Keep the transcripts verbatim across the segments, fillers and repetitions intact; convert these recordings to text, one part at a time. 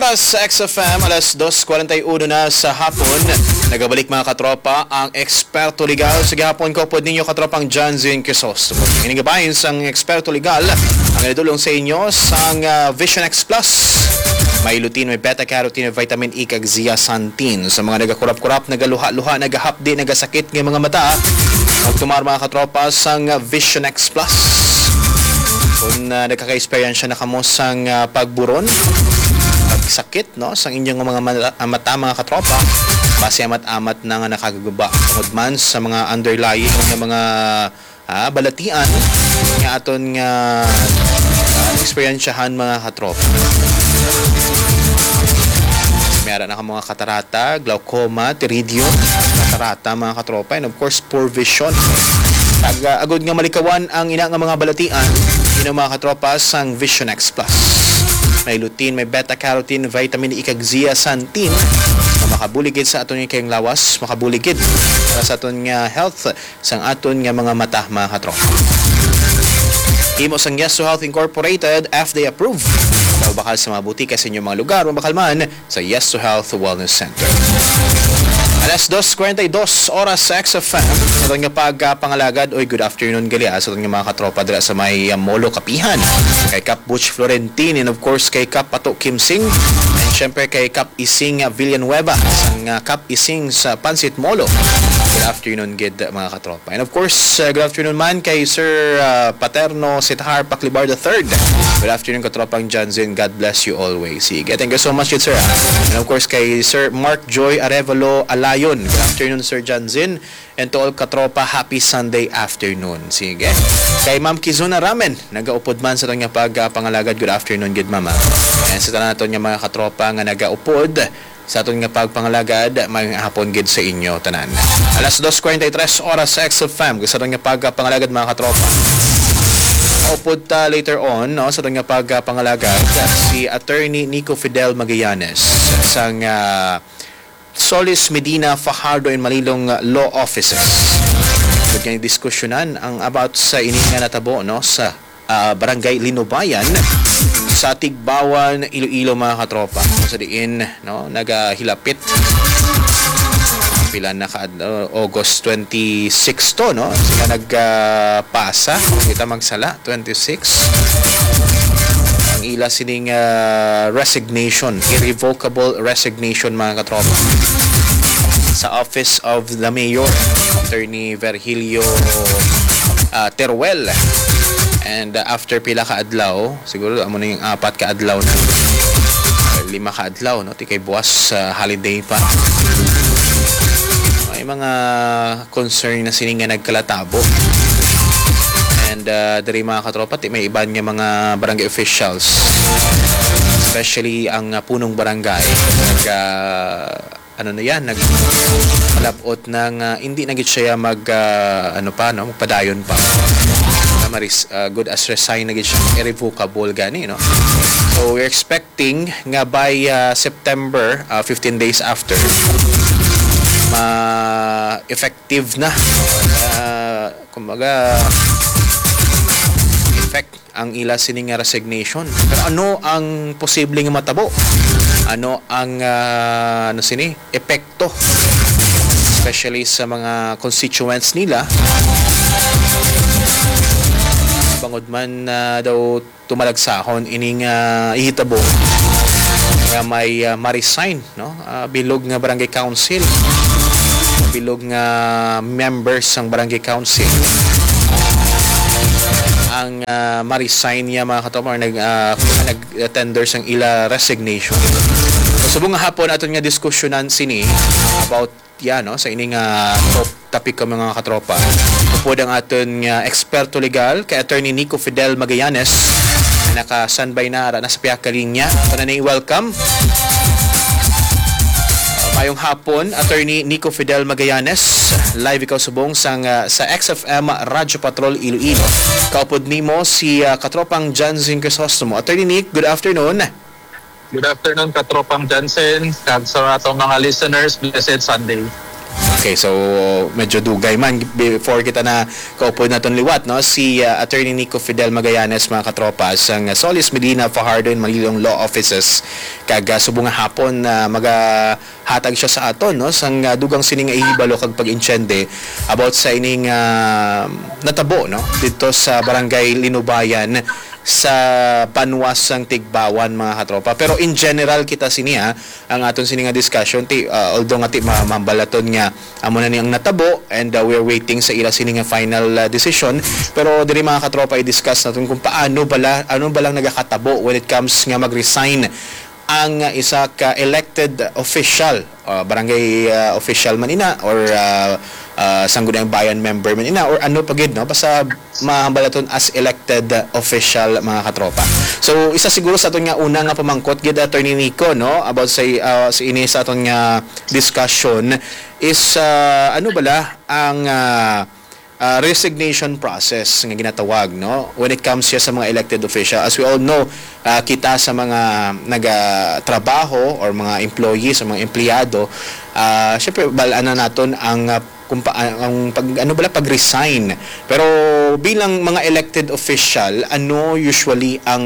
Sa X F M, alas dos kwarenta y uno na sa hapon. Nagabalik, mga katropa, ang Eksperto Legal. Sa gihapon ko pod ninyo, katropang Janzen Crisostomo. Ini nga bahin sang Eksperto Legal ang nadulong sa inyo sang, ah, Vision X Plus. May lutein, may beta carotene, may vitamin E, kag zeaxanthin. Sa mga nagakurap-kurap, nagaluha-luha, nagahapdi, nagasakit nga mga mata, magtumar, mga katropa, sang Vision X Plus. Kung, ah, nagkaka-eksperyensya na kamo sang, ah, pagburon, pagsakit, no, sang inyong mga mala-, ah, mata, mga katropa, pasiamat-amat na nga nakagaguba tungod man sa mga underlying nga mga, ah, balatian nga aton nga, ah, eksperyensyahan, mga katropa. May ara na ka mga katarata, glaucoma, pterygium, katarata, mga katropa, and of course, poor vision. Kag, ah, agod nga malikawan ang ina nga mga balatian, ino, mga katropa, sang Vision X Plus. May lutein, may beta carotene, vitamin E, kag zeaxanthin nga makabulig gid sa aton nga kayong lawas, makabulig gid para sa aton nga health, sang aton nga mga mata, mga katropa. Himo sang Yes to Health Incorporated, F D A approved. Mabakal sa mga butika sa inyong mga lugar, mabakal man sa Yes to Health Wellness Center. Alas dos kwarenta y dos oras sa X F M. Sa aton nga pagpangalagad, oy, good afternoon gali, ah, sa aton nga mga katropa dira sa may, ah, Molo Kapihan. Kay Kap Butch Florentin, and of course kay Kap Pato Kimsing, and syempre kay Kap Ising, ah, Villanueva, sang, ah, Kap Ising sa Pansit Molo. Good afternoon gid, mga katropa. And of course, uh, good afternoon man kay Sir, uh, Paterno Sithar Paclibar the third. Good afternoon, katropang Janzen. God bless you always. Sige, thank you so much, good sir, ah. And of course, kay Sir Mark Joy Arevalo Alayon. Good afternoon, Sir Janzen. And to all katropa, happy Sunday afternoon. Sige. Kay Ma'am Kizuna Ramen, nagaupod man sa aton nga pag, ah, pangalagad. Good afternoon, good mama. And sa tanan naton nga mga katropa nga nagaupod, sa aton nga pagpangalagad, maayong hapon gid sa inyo tanan. Alas dos kwarenta y tres oras sa X F M, sa aton nga pagpangalagad, mga katropa. Upod ta later on, no, sa aton nga pagpangalagad, si Attorney Nico Fidel Magallanes sang, ah, Solis Medina Fajardo and Malilong Law Offices. Ug nga diskusyunan ang about sa ini nga natabo, no, sa ah, Barangay Linubayan sa Tigbawan, Iloilo, mga katropa. Sa diin, no, nagahilapit. Pila na ka, uh, August twenty-six to, no? Sila nagpasa, kita magsala, twenty-six. Ang ila sining, ah, resignation, irrevocable resignation, mga katropa. Sa Office of the Mayor, Attorney Virgilio, ah, Teruel. And, ah, after pila ka adlaw, siguro amo na yung apat ka adlaw na, or lima ka adlaw, no? Ti kay buwas, ah, holiday pa. May mga concern na sini nga nagkalatabo. And, ah, diri, mga katropa, ti may iban nga mga barangay officials, especially ang, ah, punong barangay, nag, ah, ano na yan, nag-, malabot na nga hindi na gid siya mag, ah, ano pa, no, magpadayon pa. Na maris-, ah, good as resign na gid siya, irrevocable gani, no? So, we're expecting nga by, ah, September, ah, fifteen days after, ma-effective na, ah, kumbaga, effect ang ila sini nga resignation. Pero ano ang posible nga matabo? Ano ang, ah, ano sini, epekto, especially sa mga constituents nila? Bangod man, ah, daw tumalagsahon ining, ah, ihitabo nga may, ah, ma-resign, no? Ah, bilog nga barangay council, bilog nga members sang barangay council ang, ah, ma-resign niya, mga katropa, or nag, ah, nag-tender sang ila resignation. So, subong nga hapon aton nga diskusyonan sini about, yeah, no, sa ini nga top topic ko, mga katropa. Upod ang aton nga eksperto legal kay Attorney Nico Fidel Magallanes, nga naka-standby na ara na sa pihak ka linya. Una ni, welcome. Mayong hapon, Attorney Nico Fidel Magallanes. Live ikaw subong sang, ah, sa X F M Radyo Patrol Iloilo. Kaupod nimo si, ah, katropang Janzen Crisostomo. Attorney Nick, good afternoon. Good afternoon, katropang Jansen, kag sa atong mga listeners, blessed Sunday. Okay, so medyo dugay man before kita na kaupod naton liwat, no? Si, ah, Attorney Nico Fidel Magallanes, mga katropa, sang Solis, Medina, Fajardo, and Manilong Law Offices. Kag, ah, subong nga hapon, ah, magahatag siya sa aton, no? Sang, ah, dugang sining nga ihibalo kag pag-intsende about sa ining, ah, natabo, no? Dito sa Barangay Linubayan sa banwa sang Tigbawan, mga katropa. Pero in general kita sini, ha, ang aton sini nga discussion, ti, ah, although nga ti ma-, mambalaton nga amo na ni ang natabo and, ah, we're waiting sa ila sini nga final, ah, decision, pero diri, mga katropa, i-discuss naton kung paano bala, ano balang nagakatabo when it comes nga mag-resign ang isa ka elected official, ah, barangay, ah, official man ina or, ah, ah, sangguniang bayan member man ina or ano pa gid, no? Basta mahambalaton as elected official, mga katropa. So, isa siguro sa aton nga una nga pamangkot gid, Attorney Nico, no, about sa, ah, sa ini sa aton nga discussion is, ah, ano bala ang, ah, ah, resignation process nga ginatawag, no, when it comes siya sa mga elected official. As we all know, ah, kita sa mga nagatrabaho or mga employees o mga empleyado, ah, syempre, bal-an na naton ang, ah, kung pa, ang pag, ano bala, pag-resign. Pero bilang mga elected official, ano usually ang,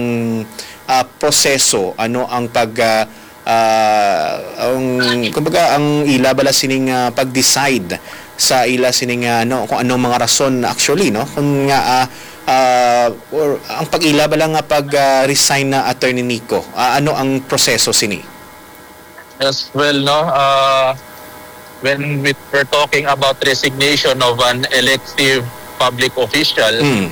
ah, proseso? Ano ang pag, ah, ah, ang, kumbaga, ang ila bala sining, ah, pag-decide sa ila sining, ah, ano, kung anong mga rason actually, no? Kung nga, ah, ah, or ang pag-ila bala nga pag, ah, resign na, Attorney Nico, ah, ano ang proseso sini? As well, no, ah, when we, we're talking about resignation of an elective public official, Mm.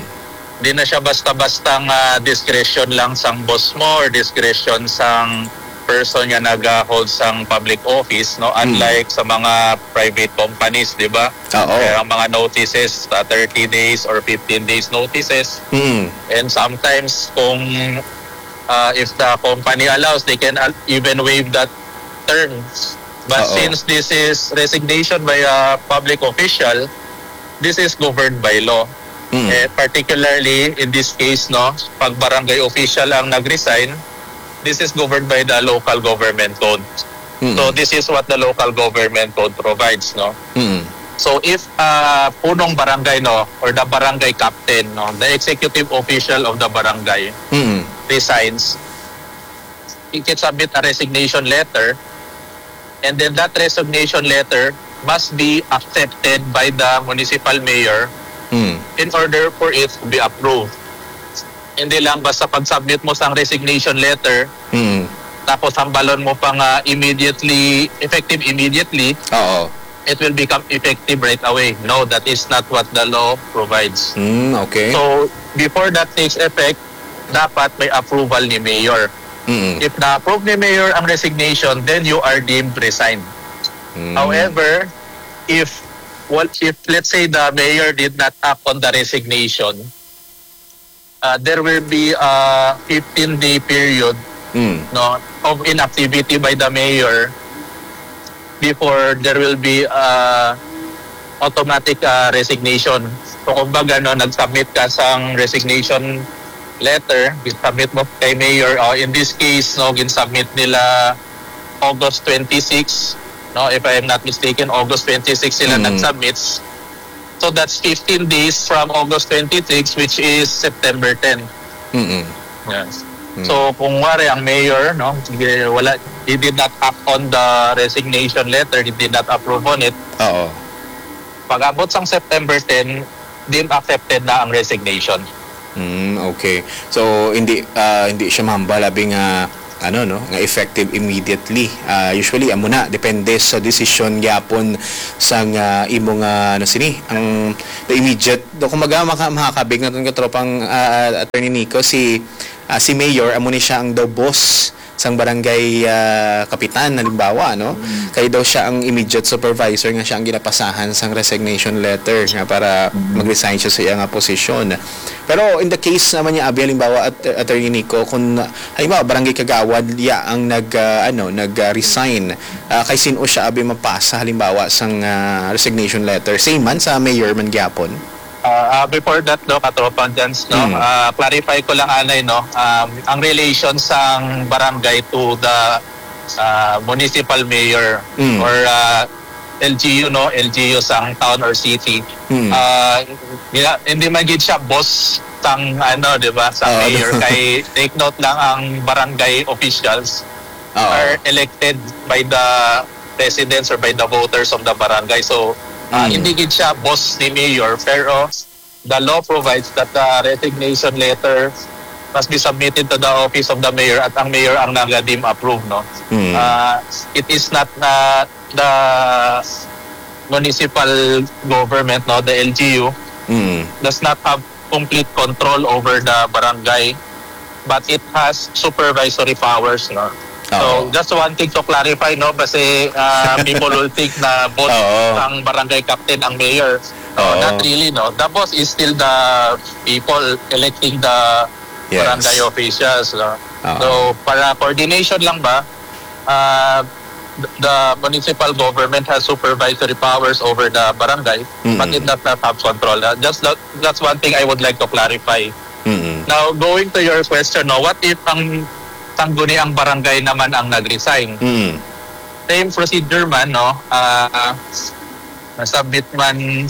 di na siya basta-basta nga discretion lang sang boss mo or discretion sang person nga nag-hold sang public office, no? Mm. Unlike sa mga private companies, di ba? Oo. Kaya ang mga notices, ah, thirty days or fifteen days notices. Mm. And sometimes, kung, ah, if the company allows, they can al-, even waive that terms. But Oo. since this is resignation by a public official, this is governed by law. Mm. Eh, particularly in this case, no, pag barangay official ang nag-resign, this is governed by the local government code. Mm. So this is what the local government code provides, no? Mm. So if, uh, punong barangay, no, or the barangay captain, no, the executive official of the barangay Mm. resigns, he can submit a resignation letter, and then that resignation letter must be accepted by the municipal mayor Mm. in order for it to be approved. Hindi lang basta pag-submit mo sang resignation letter, Mm. tapos hambalon mo pa nga immediately, effective immediately, Oo. it will become effective right away. No, that is not what the law provides. Mm, okay. So, before that takes effect, dapat may approval ni mayor. Mm. If na-approve ni mayor ang resignation, then you are deemed resigned. Mm. However, if, well, if, let's say, the mayor did not act on the resignation, uh, there will be a fifteen-day period, Mm. no, of inactivity by the mayor before there will be, uh, automatic, uh, resignation. So, kumbaga, no, nag-submit ka sang resignation letter, gin-submit mo kay mayor. Uh, in this case, no, gin-submit nila August twenty-six, no, if I am not mistaken, August twenty-six sila Mm. nag-submit. So that's fifteen days from August twenty-six, which is September ten. Mm-mm. Yes. Mm. So kung wari ang mayor, no, sige, wala, he did not act on the resignation letter, he did not approve on it. Oo. Pag-abot sang September ten, deemed accepted na ang resignation. Mm, okay. So hindi, ah, hindi siya mahambal abi nga ano, no, nga effective immediately. Ah, usually amo na, depende sa desisyon gyapon sang, ah, imo nga, ano sini, ang the immediate, do, kumbaga, maka-, makakabig naton katropang, ah, Attorney Nico, si, ah, si Mayor, amo ni siya ang daw boss sang barangay, ah, kapitan, halimbawa, no? Mm. Kay daw siya ang immediate supervisor nga siya ang ginapasahan sang resignation letter nga para Mm. mag-resign siya sa iya nga posisyon. Pero in the case naman niya, abi, halimbawa, at, Attorney Nico, kung, halimbawa, barangay kagawad ya ang nag, ah, ano, nag, ah, resign, ah, kay sin-o siya, abi, mapasa, halimbawa, sang, ah, resignation letter? Same man sa mayor man gyapon? Ah, ah, before that, no, katropang Jans, no, Mm. ah, clarify ko lang anay, no, um, ang relation sang barangay to the, ah, municipal mayor Mm. or, ah, L G U, no, L G U sang town or city. Hmm. Ah, yeah, hindi man gid siya boss sang, ano, di ba, sa Oo, mayor. Kay take note lang, ang barangay officials Oo. are elected by the residents or by the voters of the barangay. So, ah, Hmm. hindi gid siya boss ni mayor, pero the law provides that the resignation letter must be submitted to the office of the mayor at ang mayor ang naga-deem approve, no? Hmm. Ah, it is not na the municipal government, no, the L G U, Mm. does not have complete control over the barangay, but it has supervisory powers, no? So, Oo. just wanting to clarify, no, kasi, ah, people will think na boss Oo. ang barangay captain ang mayor. No, Oo. not really, no. The boss is still the people electing the Yes. barangay officials, no? Oo. So, para coordination lang ba, ah, the municipal government has supervisory powers over the barangay, but Mm-mm. it does not have control. Uh, just that, that's one thing I would like to clarify. Mm-mm. Now, going to your question, no, what if ang sangguniang barangay naman ang nag-resign? Mm. Same procedure man, no? Ah, na-submit man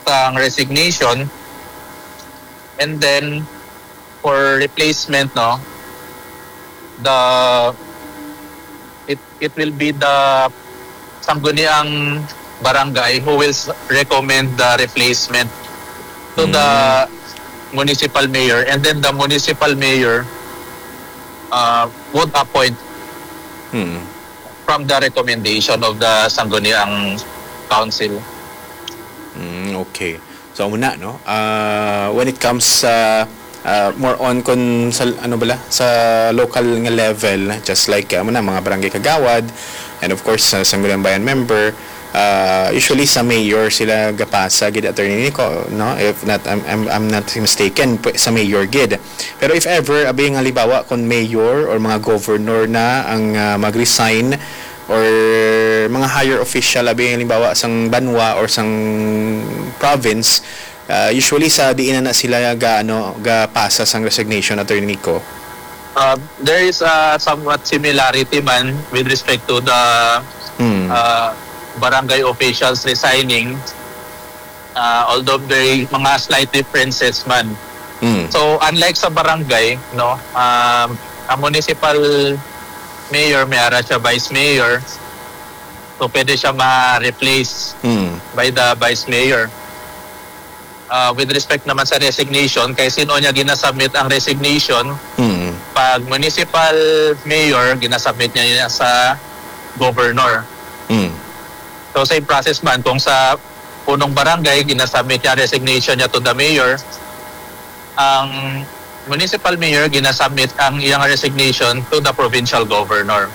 sang resignation, and then for replacement, no, the it it will be the sangguniang barangay who will s- recommend the replacement to the Mm. municipal mayor, and then the municipal mayor uh, would appoint Mm. from the recommendation of the sangguniang council. Mm, okay. So, amo na, no? Ah, when it comes sa, ah, more on kun sa, ano bala, sa local nga level, just like, ah, amo na, mga barangay kagawad, and of course, sa Sangguniang Bayan member, ah, usually sa mayor sila gapasa gid, Attorney Nico, no? If not, I'm, I'm, I'm not mistaken, pw- sa mayor gid. Pero if ever, abi nga halimbawa, kung mayor or mga governor na ang, ah, mag-resign, or mga higher official, abi, halimbawa, sang banwa or sang province, ah, usually sa diin na, na sila ga, ano, gapasa sang resignation, Attorney Nico? Uh, there is a somewhat similarity man with respect to the Hmm. uh, barangay officials resigning, uh, although very mga slight differences man. Hmm. So, unlike sa barangay, no, um, ang municipal mayor, may ara siya vice mayor. So, pwede siya ma-replace Hmm. by the vice mayor. Uh, with respect naman sa resignation, kay sino niya ginasubmit ang resignation? Hmm. Pag municipal mayor, ginasubmit niya yun sa governor. Hmm. So, same process man kung sa punong barangay, ginasubmit niya resignation niya to the mayor. Ang municipal mayor, ginasubmit ang iyang resignation to the provincial governor.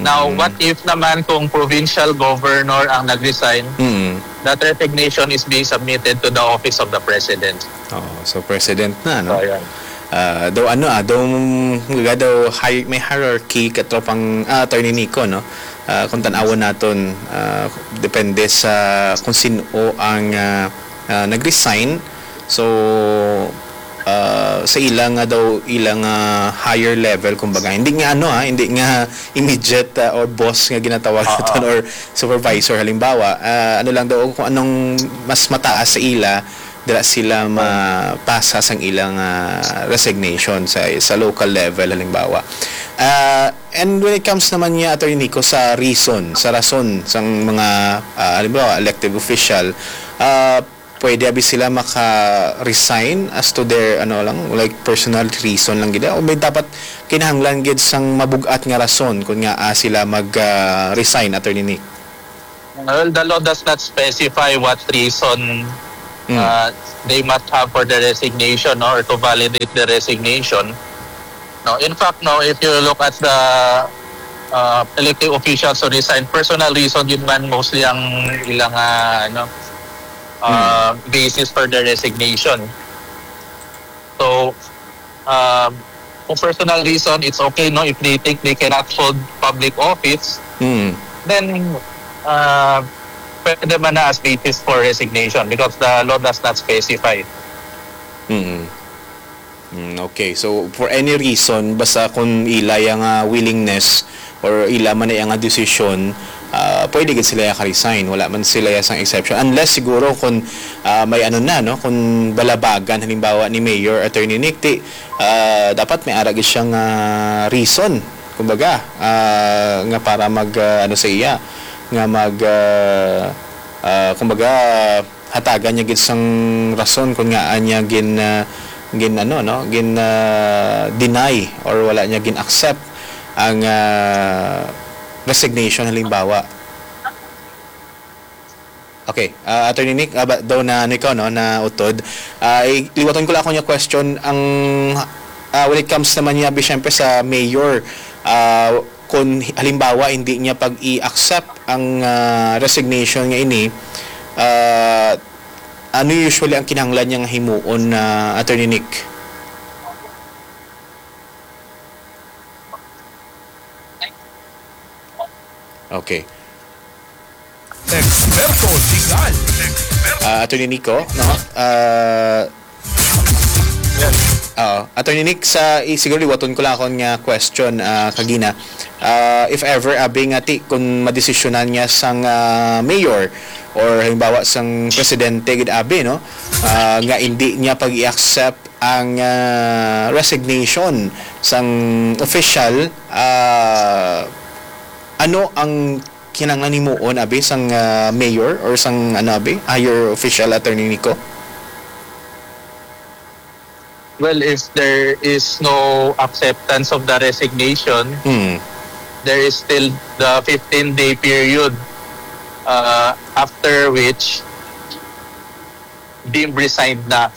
Now, Mm. what if naman kung provincial governor ang nag-resign? Mm. That resignation is being submitted to the office of the president. Oh, so president na, no? So, ayan. Ah, daw ano, ah, daw, mga daw hi-, may hierarchy, katropang, ah, Attorney Nico, no? Ah, kung tanawon naton, ah, depende sa kung sino ang, ah, ah, nag-resign. So, ah, sa ila nga daw, ila nga higher level, kumbaga, hindi nga ano, ah, hindi nga immediate, ah, or boss nga ginatawag Oo. naton or supervisor, halimbawa, ah, ano lang daw, kung anong mas mataas sa ila, dira sila mapasa sang ilang, ah, resignation sa, sa local level, halimbawa. Ah, and when it comes naman niya, Attorney Nico, sa reason, sa rason sang mga, ah, halimbawa, elected official, ah, pwede abi sila maka-resign as to their, ano lang, like, personal reason lang gid, o may dapat kinahanglan gid sang mabug-at nga rason kung nga, ah, sila mag, ah, resign, Attorney Nick? Well, the law does not specify what reason, Mm. uh, they must have for the resignation, no, or to validate the resignation. No, in fact, no, if you look at the, uh, elected officials who resign, personal reason yun man mostly ang ilang, uh, ano, uh, Mm. basis for the resignation. So, um, kung personal reason, it's okay, no? If they think they cannot hold public office, Mm. then, uh, pwede man na as basis for resignation because the law does not specify. Mm. Mm, okay. So, for any reason, basta kung ila yang, ah, willingness or ila man na yang, ah, desisyon, ah, pwede gid sila ya ka-resign. Wala man sila ya sang exception. Unless siguro kung, ah, may ano na, no? Kung balabagan, halimbawa, ni Mayor Attorney Nick, ti, ah, dapat may ara gid siyang, ah, reason, kumbaga, ah, nga para mag, ah, ano sa iya, nga mag, ah, ah, kumbaga, hatagan niya gid sang rason kung ngaa niya gin, ah, gin, ano, no, gin, ah, deny or wala niya gin-accept ang, ah, resignation, halimbawa. Okay, ah, Attorney Nick, ah, ba, daw na, ano, ikaw, no, na utod. Ah, i-, liwaton ko lang ako niya question. Ang, ah, when it comes naman niya, bi, syempre, sa mayor, ah, kung halimbawa hindi niya pag-i-accept ang, ah, resignation nga ini, ah, ano usually ang kinahanglan niya nga himuon, ah, Attorney Nick? Okay. Eksperto legal. Ah, Attorney Nico, no? Ah, oo. Attorney Nick, sa, i-, siguro liwaton ko lang akon nga question, ah, kagina. Ah, if ever, abi nga ti, kung madesisyonan niya sang, ah, mayor or halimbawa sang presidente gid, abi, no? Ah, nga hindi niya pag-i-accept ang, ah, resignation sang official, ah, ano ang kinahanglan himuon, abi, sang, ah, mayor or sang, ano, abi, higher official, Attorney Nico? Well, if there is no acceptance of the resignation, Hmm. there is still the fifteen-day period, uh, after which deemed resigned na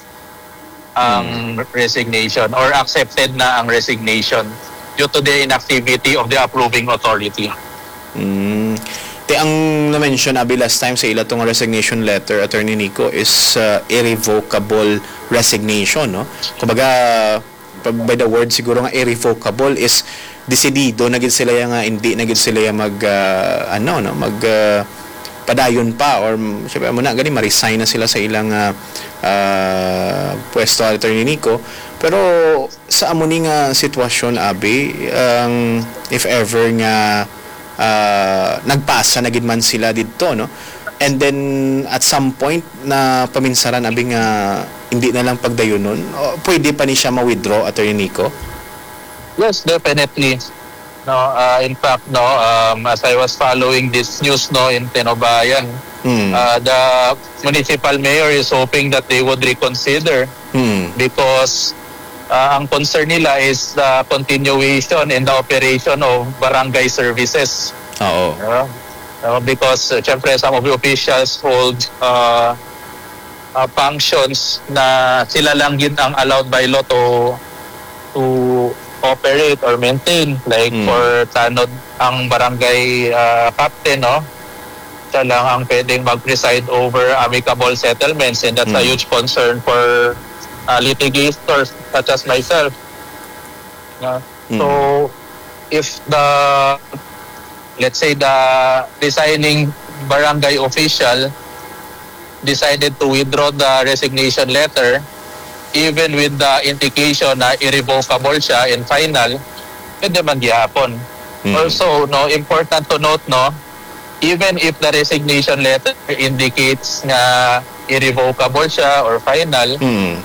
ang Hmm. resignation or accepted na ang resignation due to the inactivity of the approving authority. Mm. Te, ang na-mention, abi, last time sa ila tong resignation letter, Attorney Nico, is, uh, irrevocable resignation, no? Kumbaga, pa-, by the word siguro nga irrevocable is desidido na gid sila ya nga hindi na gid sila ya mag, uh, ano, no, mag, uh, padayon pa or, mm, syempre, amo na gani, ma-resign na sila sa ilang, uh, uh, pwesto, Attorney Nico. Pero sa amo ni nga sitwasyon, abi, ang if ever nga, ah, nagpasa na gid man sila didto, no? And then, at some point, na paminsaran, abi, nga hindi na lang pagdayunon, o, pwede pa ni siya ma-withdraw, Attorney Nico? Yes, definitely. No, uh, in fact, no, um, as I was following this news, no, in Tenobayan, Hmm. uh, the municipal mayor is hoping that they would reconsider Hmm. because, uh, ang concern nila is the continuation and the operation of barangay services. Oo. Uh, uh, because, uh, syempre, some of the officials hold, uh, uh, functions na sila lang gid ang allowed by law to, to operate or maintain. Like, Mm. for tanod, ang barangay, uh, captain, no? Siya lang ang pwedeng mag-preside over amicable settlements, and that's a Mm. huge concern for, uh, litigators such as myself. No? Mm. So, if the, let's say, the resigning barangay official decided to withdraw the resignation letter, even with the indication na irrevocable siya and final, pwede man gihapon. Mm. Also, no, important to note, no, even if the resignation letter indicates nga irrevocable siya or final, Mm.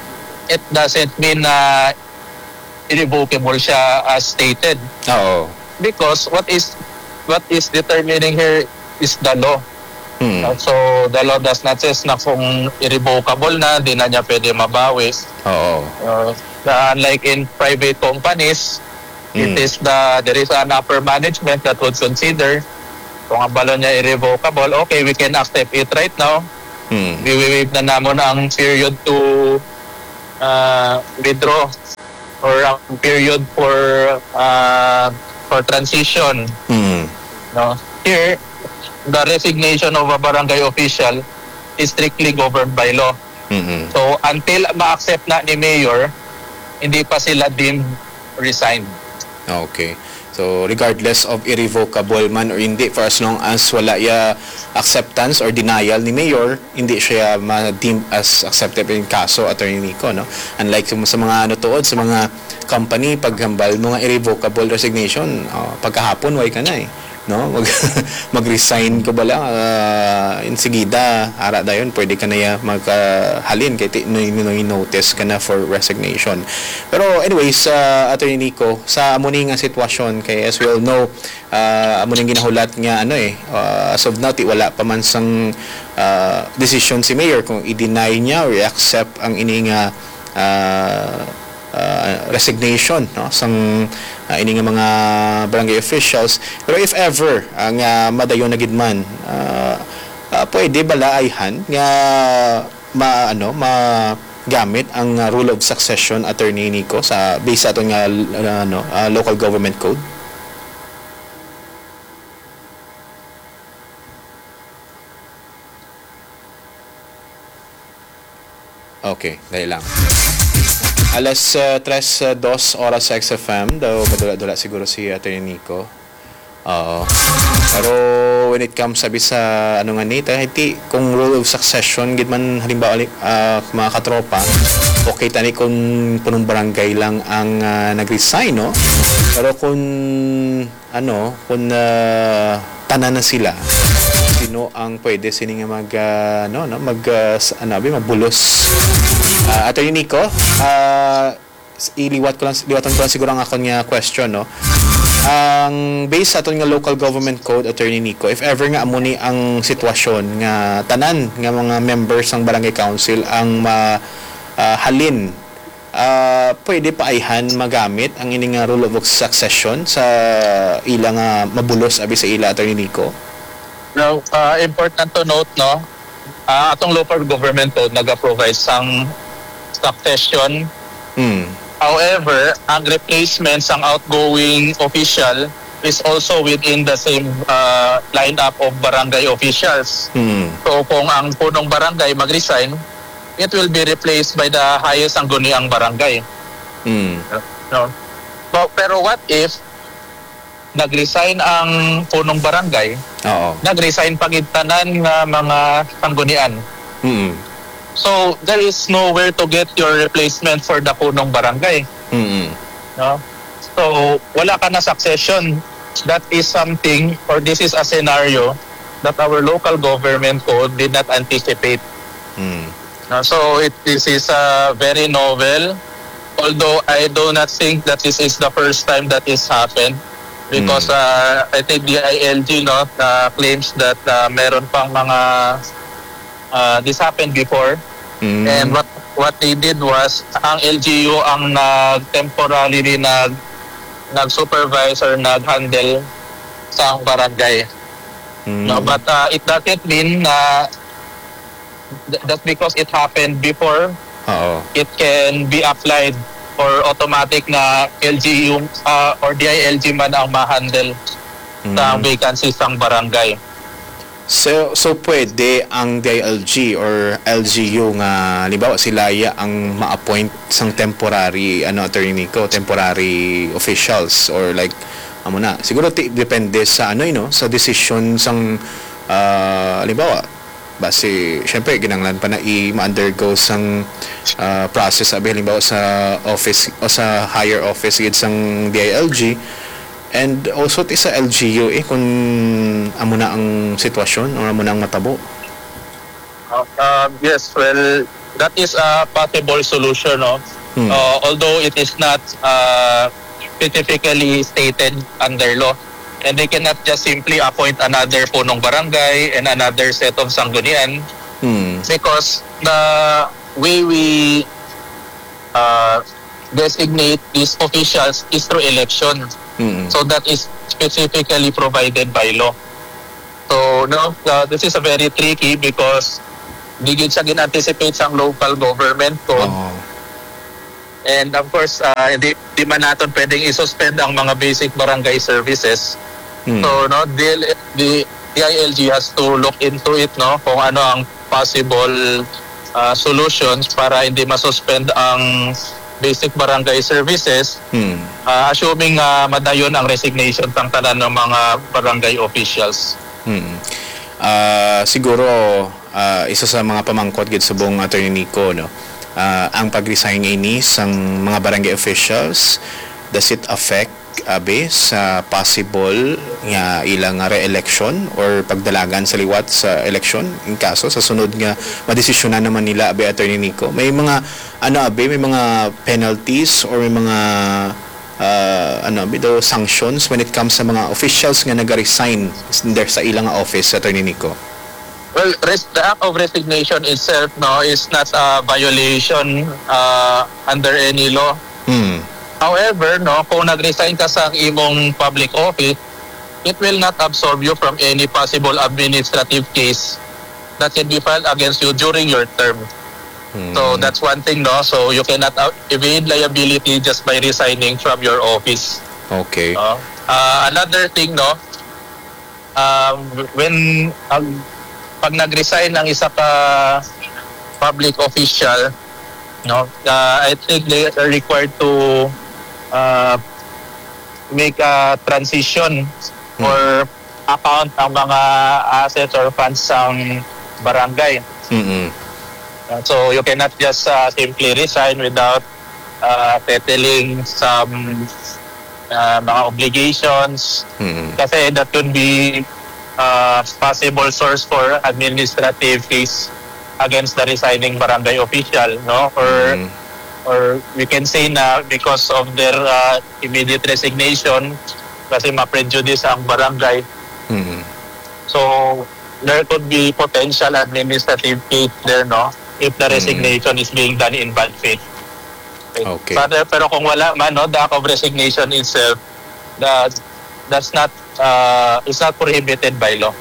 it doesn't mean na irrevocable siya as stated. Oo. Because what is, what is determining here is the law. Hmm. Uh, so, the law does not says na kung irrevocable na, di na niya pwede mabawi. Oo. Uh, na unlike in private companies, it Hmm. is the, there is an upper management that would consider kung ang balon niya irrevocable, okay, we can accept it right now. Hmm. Iwi-waive na namon ang period to, uh, withdraw or ang period for, uh, for transition. Hmm. No? Here, the resignation of a barangay official is strictly governed by law. Mm-hmm. So, until ma-accept na ni Mayor, hindi pa sila deemed resigned. Okay. So, regardless of irrevocable man or hindi, for as long as wala ya acceptance or denial ni Mayor, hindi siya ma-deemed as accepted in kaso, Attorney Nico, no? Unlike sa, sa mga, ano, tuod, sa mga company, paghambal mo nga irrevocable resignation, oh, pagkahapon, way ka na eh. no? Mag, mag-resign ka bala, ah, insigida, ara dayon, pwede ka na ya maghalin kay ti-, no, no, notice ka na for resignation. Pero anyways, ah, Attorney Nico, sa amo ni nga sitwasyon, kay as we all know, ah, amo ning ginahulat nga, ano eh, ah, as of now, ti wala pa man sang, ah, desisyon si Mayor kung i-deny niya or i-accept ang ini nga, ah, ah, resignation, no, sang, ah, ini nga mga barangay officials. Pero if ever, ah, nga madayon na gid man, ah, ah, pwede bala ayhan nga ma-, ano, magamit ang, ah, rule of succession, Attorney Nico, sa, based sa aton nga, ah, ano, ah, local government code? Okay, dali lang. Alas, ah, tres, ah, dos oras sa X F M. Daw madula-dula siguro si Attorney Nico. Oo. Pero when it comes, sabi sa, ano nga ni, ta-, ti, kung rule of succession, gid man, halimbawa, li-, ah, mga katropa, okay tani kung punong barangay lang ang, ah, nag-resign, no? Pero kung, ano, kung, ah, tanan na sila, sino ang pwede sini nga mag, ah, ano, no, mag, ah, s-, ano, abi, magbulos? Ah, Attorney Nico, ah, s-, iliwat ko lang, liwatan ko lang siguro ang akon nga question, no? Ang based sa aton nga local government code, Attorney Nico, if ever nga amo ni ang sitwasyon nga tanan nga mga members sang barangay council ang ma-, ah, halin, ah, pwede pa ayhan magamit ang ini nga rule of succession sa ila nga mabulos abi sa ila, Attorney Nico? Now, ah, important to note, no? Ah, atong local government code naga-provide sang succession. Hmm. However, ang replacement sang outgoing official is also within the same, ah, lineup of barangay officials. Hmm. So, kung ang punong barangay mag-resign, it will be replaced by the highest sangguniang barangay. Hmm. No? But, pero what if nag-resign ang punong barangay, Oo. nag-resign pa gid tanan nga mga sanggunian. Mm. So, there is nowhere to get your replacement for the punong barangay. Mm. No? So, wala ka na succession. That is something, or this is a scenario that our local government code did not anticipate. Mm. No? So, it, this is, uh, very novel. Although I do not think that this is the first time that this happened, because, Mm. uh, I think D I L G, no, uh, claims that, uh, meron pang mga, uh, this happened before. Mm. And what, what they did was, ang L G U ang nag-, temporarily nag-, nag-supervise or nag-handle sa barangay. Mm. No, but, uh, it doesn't mean na th-, just because it happened before, Oo. it can be applied or automatic na L G U, ah, or D I L G man ang ma-handle sa Mm. vacancy sang barangay. So, so pwede ang D I L G or L G U nga, halimbawa, sila ya ang ma-appoint sang temporary, ano, Attorney Nico, temporary officials or like, amo na. Siguro ti-, depende sa, ano, eh, no, sa desisyon sang, ah, halimbawa, basi, syempre, kinahanglan pa na i-, ma-undergo sang, ah, process, abi, halimbawa, sa office o sa higher office gid sang D I L G, and also ti sa L G U, eh, kung amo na ang sitwasyon or amo na ang matabo. Uh, uh, yes, well, that is a possible solution, no? Hmm. Uh, although it is not, uh, specifically stated under law, and they cannot just simply appoint another punong barangay and another set of sanggunian, Hmm. because the way we, uh, designate these officials is through election. Hmm. So that is specifically provided by law. So, no, uh, this is a very tricky because di gid siya gin-anticipate sang local government code. Oo. And of course, uh, di, di man naton pwedeng i-suspend ang mga basic barangay services. Hmm. So, no, D L, the D I L G has to look into it, no, kung ano ang possible, uh, solutions para hindi ma-suspend ang basic barangay services, Hmm. uh, assuming, uh, madayon ang resignation sang tanan ng mga barangay officials. Hmm. Ah, siguro, ah, isa sa mga pamangkot gid subong, Attorney Nico, no? Ah, ang pag-resign ini sang mga barangay officials, does it affect abi, sa possible nga ilang re-election or pagdalagan sa liwat sa election, in kaso sa sunod nga madesisyonan naman nila, abi, Attorney Nico? May mga, ano, abi, may mga penalties or may mga, ah, ano, abi, daw, sanctions when it comes sa mga officials nga nag-resign s-, there sa ilang office, Attorney Nico? Well, res-, the act of resignation itself, no, is not a violation, uh, under any law. Hmm. However, no, kung nag-resign ka sa imong public office, it will not absolve you from any possible administrative case that can be filed against you during your term. So, hmm, that's one thing, no? So, you cannot, uh, evade liability just by resigning from your office. Okay. No? Uh, another thing, no? Um, when, ang, pag nag-resign ang isa ka public official, no, uh, I think they are required to, uh, make a transition, hmm, or account ang mga assets or funds sang barangay. Mm-mm. Uh, so you cannot just, uh, simply resign without, uh, settling some, uh, mga obligations. Mm-mm. Kasi that could be, uh, possible source for administrative case against the resigning barangay official, no? Or, mm-mm, or we can say na because of their, uh, immediate resignation, kasi ma-prejudice ang barangay. Mm-mm. So, there could be potential administrative case there, no? If the, mm, resignation is being done in bad faith. Okay. Okay. But, uh, pero kung wala man, no, the act of resignation itself, the, that's not, uh, is not prohibited by law.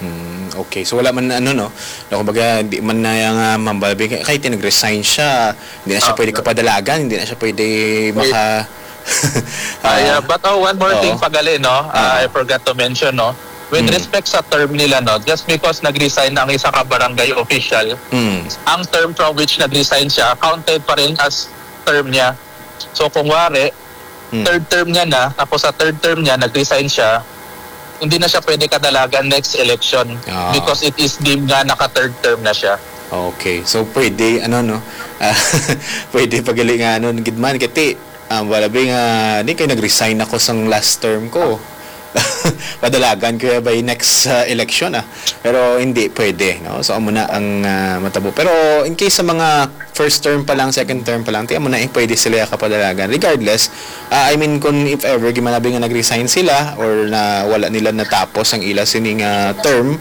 Mm, okay. So, wala man, ano, no? No, kumbaga, di man na yung, ah, Ma'am Balbing, kahit nag-resign siya, hindi na siya, ah, pwede kapadalagan, hindi na siya pwede, wait, maka-, ah, ah, yeah, but, oh, one more thing, oo, pagali, no? Ah, ah, I forgot to mention, no? With, mm, respect sa term nila, no? Just because nag-resign ang isa ka barangay official, mm, ang term from which nag-resign siya, counted pa rin as term niya. So, kung wari, mm, third term niya na, tapos sa third term niya, nag-resign siya, hindi na siya pwede kadalagan next election, ah, because it is deemed nga naka-third term na siya. Okay. So, pwede, ano, no? Ah, pwede pagali nga, ano, gid man. Kati, ah, wala ba nga, di kay nag-resign ako sang last term ko. Padalagan ko ya by next, ah, election, ah. Pero hindi pwede, no? So, amo na ang, ah, matabo. Pero in case sa mga first term pa lang, second term pa lang, tiyan mo na, eh, pwede sila kapadalagan. Regardless, ah, I mean, kung if ever, gimanabi nga nag-resign sila or na wala nila natapos ang ila sining, ah, term,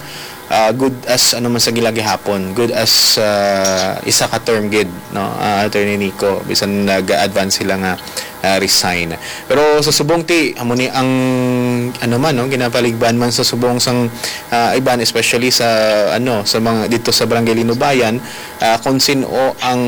ah, good as ano man sa gila gihapon, good as, ah, isa ka term gid, no, ah, Attorney Nico, bisan nag-advance sila nga, ah, resign. Pero sa subong ti, amo ni ang, ano man, no, ginapaligban man sa subong sang, ah, iban, especially sa, ano, sa mga dito sa Barangay Linubayan, ah, kung sino ang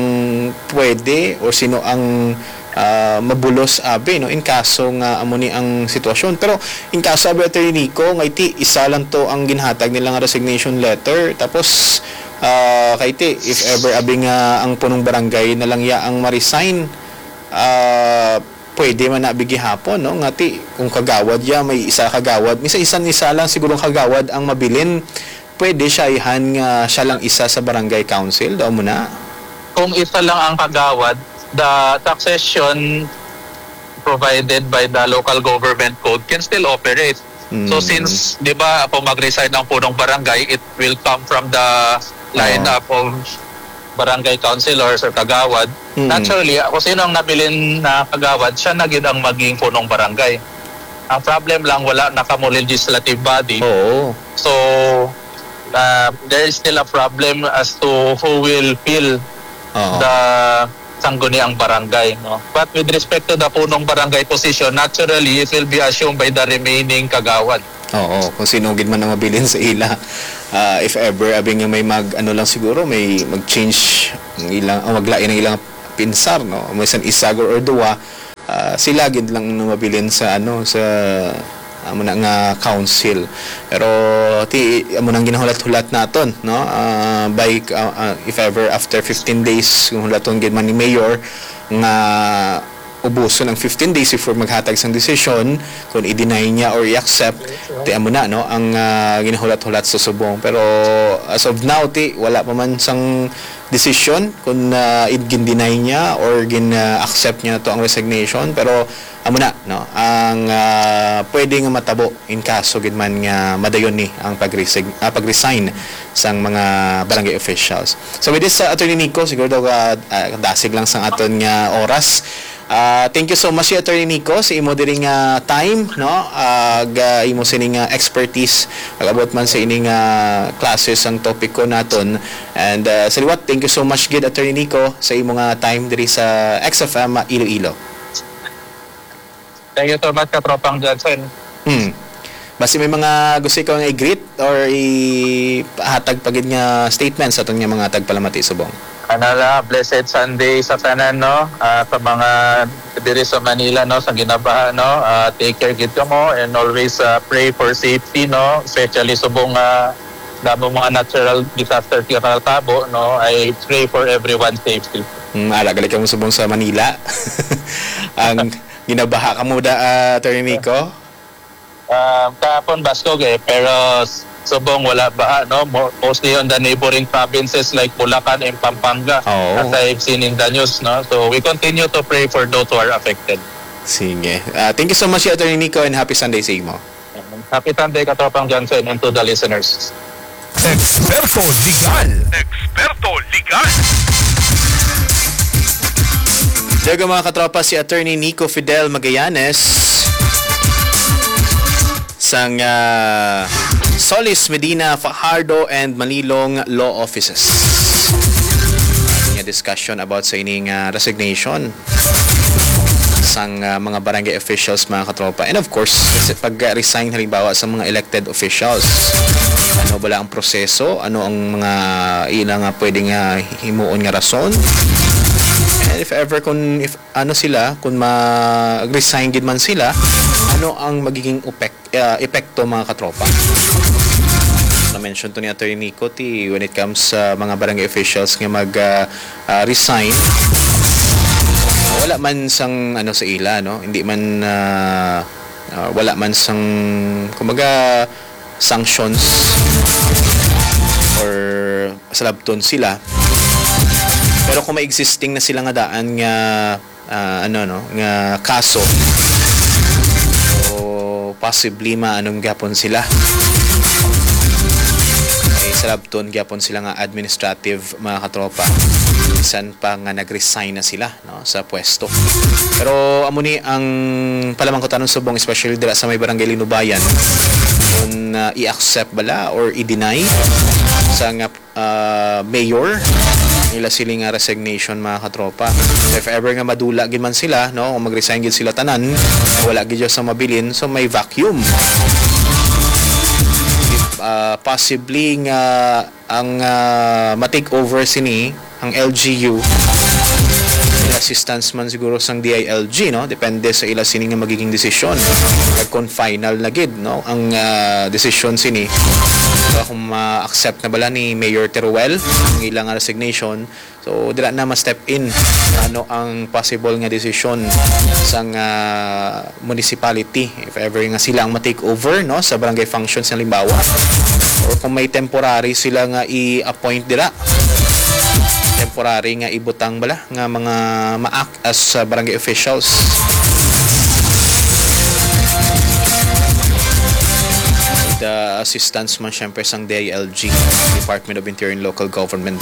pwede or sino ang, ah, mabulos, abi, no, in kaso nga amo ni ang sitwasyon. Pero in kaso, abi, Attorney Nico, nga iti isa lang to ang ginhatag nila nga resignation letter. Tapos, ah, kay ti, if ever, abi, nga ang punong barangay na lang ya ang ma-resign, ah, pwede man na, abi, gihapon, no? Nga ti, kung kagawad ya, may isa kagawad. Minsan isa, isa lang siguro ang kagawad ang mabilin. Pwede siya ihan nga siya lang isa sa barangay council, daw mo na? Kung isa lang ang kagawad, the succession provided by the local government code can still operate. So, mm, since, di ba, kung mag-resign ang punong barangay, it will come from the, oo, lineup of barangay councilors or kagawad. Mm. Naturally, kung sino ang nabilin na kagawad, siya na gid ang maging punong barangay. Ang problem lang, wala na kamo legislative body. Oo. So, uh, there is still a problem as to who will fill, oo, the sangguniang barangay, no? But with respect to the punong barangay position, naturally, it will be assumed by the remaining kagawad. Oo, kung sino gid man ang mabilin sa ila. Ah, if ever, abi nga may mag, ano lang siguro, may mag-change ang ilang, ang maglain ang ilang pinsar, no? May isang isa or, or duwa, ah, sila gid lang ang mabilin sa, ano, sa, amo na nga council. Pero ti, amo nang ginahulat-hulat naton, no? Ah, by, ah, ah, if ever after fifteen days, kung hulaton gid man ni mayor nga ubuson ang fifteen days before maghatag sang desisyon kung i-deny niya or i-accept, ti amo na, no, ang, ah, ginahulat-hulat sa subong. Pero as of now, ti wala pa man sang desisyon kung, ah, i-, gin-deny niya or gin-accept niya to ang resignation. Pero amo na, no, ang, ah, pwede nga matabo in kaso gid man nga madayon ni ang pag-resig-, ah, pag-resign sang mga barangay officials. So with this, uh, Attorney Nico, siguro daw, uh, uh, dasig lang sang aton nga oras. Uh, thank you so much, Attorney Nico, sa imo diri nga time, no? Ag, uh, imo sining, uh, expertise, ag-abot man sa ining, uh, classes ang topiko naton. And, uh, sa liwat, thank you so much gid, Attorney Nico, sa imo nga time diri sa X F M Iloilo. Thank you so much, Katropang Johnson. Hmm. Basi may mga gusto ikaw nga i-greet or ihatag pa gid nga statement sa aton nga mga tagpalamati subong? Ano la, blessed Sunday sa tanan, no? Ah, sa mga diri sa Manila, no, sa ginabaha, no? Ah, take care gid kamo and always, ah, pray for safety, no? Especially subong, ah, damo mga natural disaster nga natabo, no? I pray for everyone's safety. Hmm, ala gali kamo subong sa Manila. Ang ginabaha kamo da, ah, Attorney Nico? Um, kahapon, baskog eh, pero s-, subong wala baha, no? Mo-, mostly on the neighboring provinces like Bulacan and Pampanga, Oo. as I've seen in the news, no? So, we continue to pray for those who are affected. Sige. Ah, thank you so much, Attorney Nico, and happy Sunday sa imo. Happy Sunday, Katropang Johnson, and to the listeners. Eksperto Legal. Eksperto Legal. Daga, mga katropa, si Attorney Nico Fidel Magallanes sang, ah, Solis, Medina, Fajardo, and Manilong Law Offices. Nga discussion about sa ining, ah, resignation sang, ah, mga barangay officials, mga katropa. And of course, sa pag-resign, halimbawa, sa mga elected officials. Ano bala ang proseso? Ano ang mga ila nga pwede nga himuon nga rason? And if ever, kung, if ano sila, kung mag-resign gid man sila, ano ang magiging upek-, ah, epekto, mga katropa? Na-mention to ni Attorney Nico, ti when it comes sa mga barangay officials nga mag, ah, ah, resign, wala man sang ano sa ila, no? Hindi man, ah, ah, wala man sang, kumbaga, sanctions or salabton sila. Pero kung may existing na sila nga daan nga, ah, ano, no, nga kaso, o possibly maanom gyapon sila. May salabton gyapon sila nga administrative, mga katropa. Bisan pa nga nag-resign na sila, no, sa pwesto. Pero amo ni ang palamangkutanon subong, especially dira sa may Barangay Linubayan, kung, ah, i-accept bala or i-deny sa nga, ah, mayor nila sila nga resignation, mga katropa. If ever nga madula gid man sila, no, kung mag-resign gid sila tanan, wala gid sa mabilin, so may vacuum. If, ah, possibly nga ang, ah, ma-take over sini, ang L G U, with assistance man siguro sang D I L G, no? Depende sa ila sini nga magiging desisyon. Kag kung final na gid, no, ang, ah, desisyon sini, so kung ma-accept na bala ni Mayor Teruel ang ila nga resignation, so dira na ma-step in ano ang possible nga desisyon sang, ah, municipality, if ever nga sila ang ma-take over, no, sa barangay functions, halimbawa, or kung may temporary sila nga i-appoint dira, temporary nga ibutang bala nga mga ma-act as, ah, barangay officials. The assistance man, syempre, sang D I L G, Department of Interior and Local Government.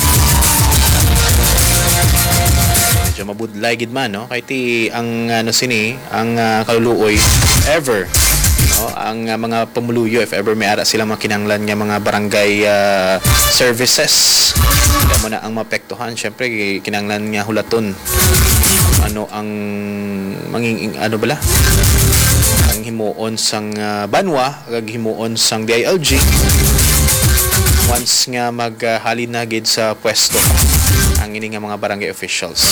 Medyo mabudlay gid man, no? Kay ti ang, ano, sini, ang, ah, kaluluoy, ever, no? Ang, ah, mga pumuluyo, if ever may ara sila mga kinahanglan nga mga barangay, ah, services, kaya mo na ang maapektuhan, syempre, kinahanglan nga hulaton ano ang manging, ano bala? Ang himuon sang, ah, banwa, kag himuon sang D I L G once nga maghalin na gid sa pwesto ang ini nga mga barangay officials.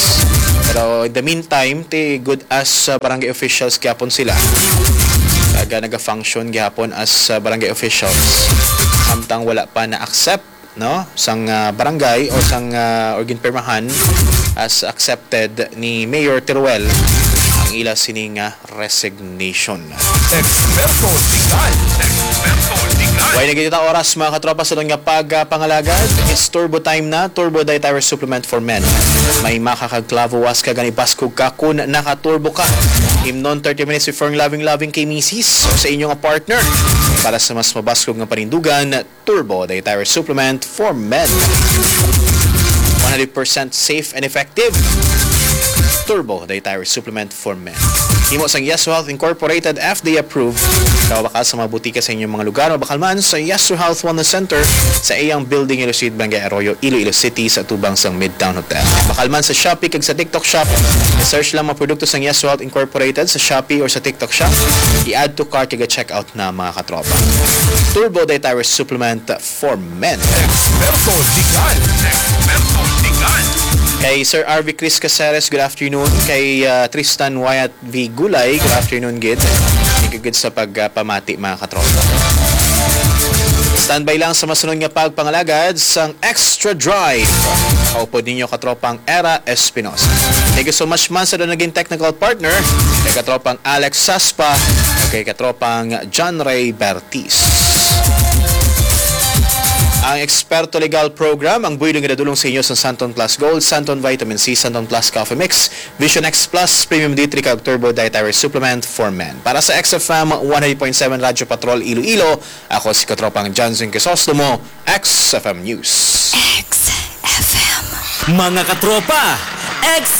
Pero in the meantime, ti good as, ah, barangay officials gyapon sila. Kag, ah, naga-function gyapon as, ah, barangay officials. Samtang wala pa na-accept, no, sang, ah, barangay o sang, ah, or ginpirmahan as accepted ni Mayor Teruel ang ila sini nga resignation. Eksperto Legal. Eksperto Legal. Way na kita oras, mga katropa, sa nga pagpangalagad. It's Turbo Time na, Turbo Diet Thyroid Supplement for Men. May makakagklavo was ka gani baskog ka kun naka-turbo ka. Imnon thirty minutes before ang loving-loving kay misis o sa inyong partner. Para sa mas mabaskog nga panindugan, Turbo Dietary Supplement for Men. One hundred percent safe and effective. Turbo Dietary Supplement for Men. Himo sang Yeso Health Incorporated, F D A approved. Mabakal sa mga butika sa inyong mga lugar, mabakal man sa Yeso Health Wellness Center sa iyang building, Iloilo Street, Barangay Arroyo, Iloilo City, sa tubang sang Midtown Hotel. Bakal man sa Shopee kag sa TikTok Shop. Search lang mga produkto sang Yeso Health Incorporated sa Shopee or sa TikTok Shop. I-add to cart kag check out na, mga katropa. Turbo Dietary Supplement for Men. Eksperto Legal. Eksperto Legal. Kay Sir R V Chris Caceres, good afternoon. Kay, ah, Tristan Wyatt V Gulay, good afternoon, gid. Thank you, gid, sa pagpamati, mga katropa. Standby lang sa masunod nga pagpangalagad sang Extra Drive. Kaupod ninyo, katropang Era Espinosa. Thank you so much man sa naging technical partner, kay katropang Alex Saspa, kay katropang John Ray Bertis. Ang Eksperto Legal Program, ang buylog nga nadulong sa inyo sa Santon Plus Gold, Santon Vitamin C, Santon Plus Coffee Mix, Vision X Plus, Premium D three, kag Turbo Dietary Supplement for Men. Para sa X F M one hundred point seven Radyo Patrol Iloilo, ako si Katropang Johnson Crisostomo, X F M News. X F M. Mga katropa, X